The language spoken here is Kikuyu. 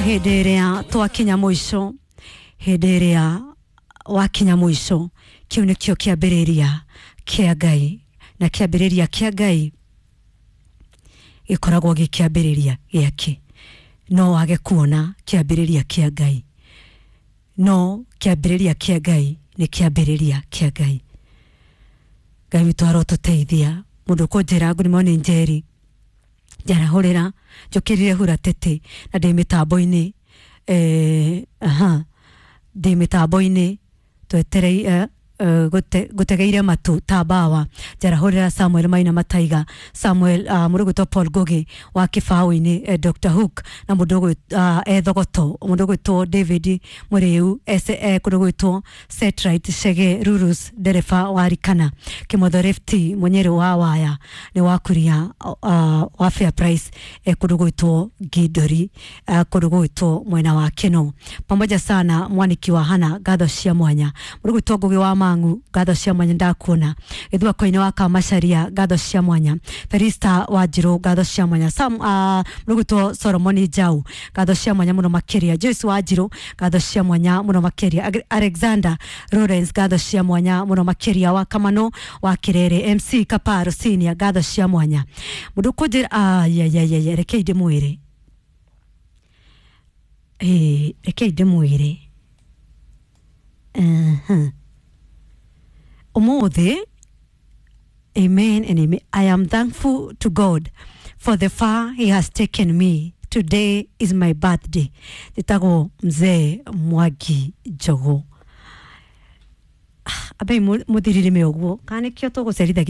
Hĩndĩ ĩrĩa twakinya mũico, hĩndĩ ĩrĩa wakinya mũico, kĩu nĩkĩo kĩambĩrĩria kĩa Ngai, na kĩambĩrĩria kĩa Ngai gĩkoragwo gĩ kĩambĩrĩria gĩake. No wage kuona kĩambĩrĩria kĩa Ngai, no kĩambĩrĩria kĩa Ngai nĩ kĩambĩrĩria kĩa Ngai. Ngai witũ arotũteithia. Mũndũ ũkũnjĩra good morning Njeri, njarahũrĩra njũkĩrire hura tete na ndĩ mĩtambo-inĩ, aha, ndĩ mĩtambo-inĩ tweterei, ngũtegeire matũ ta mbawa. Njarahũrĩra Samuel Maina Mataiga, Samuel, mũndũ ũgwĩtwo Paul Ngugi wa kĩbaũ-inĩ, Dr Hook, na mũndũ ethogoto, mũndũ ũgwĩtwo David Mũrĩu kũndũ gwĩtwo Setright Chege Rurus, ndereba wa Rikana Kĩmotho Lefty Mũnyĩrĩ wa waya nĩ wa kuria, wa Fair Price, kũndũ gwĩtwo Ngindori, kũndũ gwĩtwo mwena wa Keno. Pamoja sana mwaniki wa Hana, ngatho cia mwanya. Mũndũ gwĩtwo Ngugi wa Mang'u, ngatho cia mwanya, ndakuona. Gĩthua-koine wa Kamacharia, ngatho cia mwanya. Felista wa Njirũ, ngatho cia mwanya. Sam, mũndũ gwĩtwo Solomoni Jau, ngatho cia mwanya mũno makĩria. Joyce wa Njirũ, ngatho cia mwanya mũno makĩria. Alexander Lawrence, ngatho cia mwanya mũno makĩria. Wa Kamano wa Kirere, MC Kaparo Senior, ngatho cia mwanya. Mũndũ kũnjĩra ayayayaya, rekei ndĩmwĩre, rekei ndĩmwĩre. Ũmũthĩ, amen and amen. I am thankful to God for the far he has taken me. Today is my birthday. Njĩtagwo Mzee Mwangi Njogu. Ambei mũthirire ũguo kana nĩkĩo tũgũcerithagia.